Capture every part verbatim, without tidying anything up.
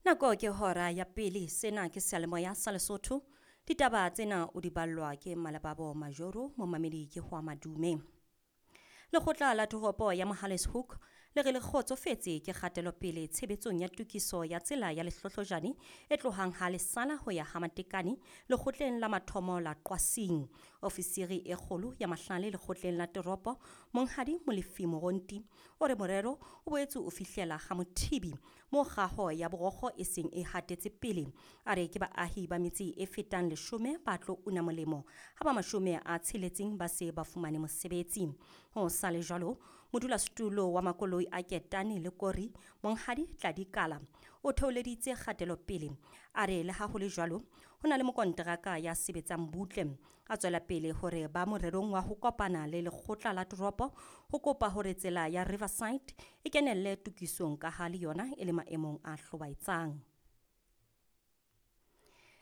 Nako ke hora ya pele, sena ke seyalemoya sa Lesotho. Ditaba tsena o di ballwa ke Malebabo Majoro, momamedi ke Hwa Madume. Lekgotla la toropo ya Mohale's Hoek le re le kgotsofetse ke kgatelopele tshebetsong ya tokiso ya tsela ya Lehlohlojane e tlohang ha Lesala ho ya ha Matekane lekgotleng la mathomo la Qwasing. Ofisiri e kgolo ya mahlale lekgotleng la toropo, Monghadi Molefi Moronti, o re morero o boetse o fihlela ha Mothibi moo kgaho ya borokgo e seng e hatetse pele. A re ke baahi ba metse e fetang leshome ba tlo una molemo ha ba mashome a tsheletseng ba se ba fumane mosebetsi. Ho sa le jwalo, modulasetulo wa makoloi a Ketane le Kori, Monghadi Tladi Kala, o theoleditse kgatelopele. A re le ha ho le jwalo, ho na le mokonteraka ya sebetsang butle. A tswela pele hore ba morerong wa ho kopana le lekgotla la toropo ho kopa hore tsela ya Riverside e kenelle tokisong ka ha le yona e le maemong a hlobaetsang.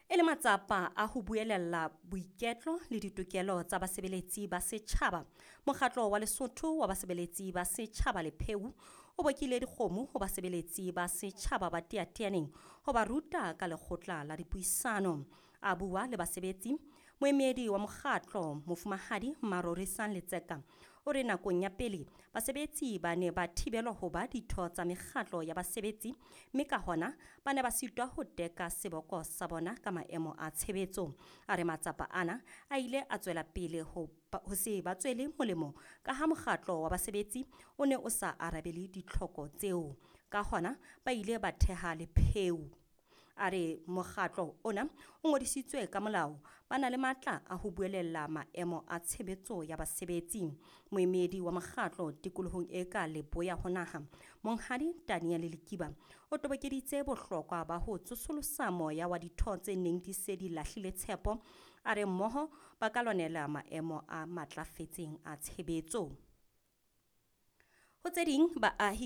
E le matsapa a ho buelella boiketlo le ditokelo tsa basebeletsi ba setjhaba, mokgatlo wa Lesotho wa basebeletsi ba setjhaba Lepheu o bokile dikgomo ho basebeletsi ba setjhaba ba Teyateyaneng ho ba ruta ka lekgotla la dipuisano. A bua le basebetsi, moemedi wa mokgatlo Mofumahadi Marorisang Letseka o re nakong ya pele basebetsi ba ne ba thibelwa ho ba ditho tsa mekgatlo ya basebetsi, mme ka hona ba ne ba sitwa ho teka seboko sa bona ka maemo a tshebetso. A re matsapa ana a ile a tswela pele ho ho se ba tswele molemo ka ha mokgatlo wa basebetsi o ne o sa arabele ditlhoko tseo. Ka hona ba ile ba theha Lepheu. A re mokgatlo ona o ngodisitswe ka molao, ba na le matla a ho buelella maemo a tshebetso ya basebetsi. Moemedi wa mokgatlo tikolohong e ka leboya ho naha, Monghadi Daniel Lekiba, o tobokeditse bohlokwa ba ho tsosolosa moya wa ditho tse neng di se di lahlile tshepo. A re mmoho ba ka lwanela maemo a matlafetseng a tshebetso. Ho tse ding, baahi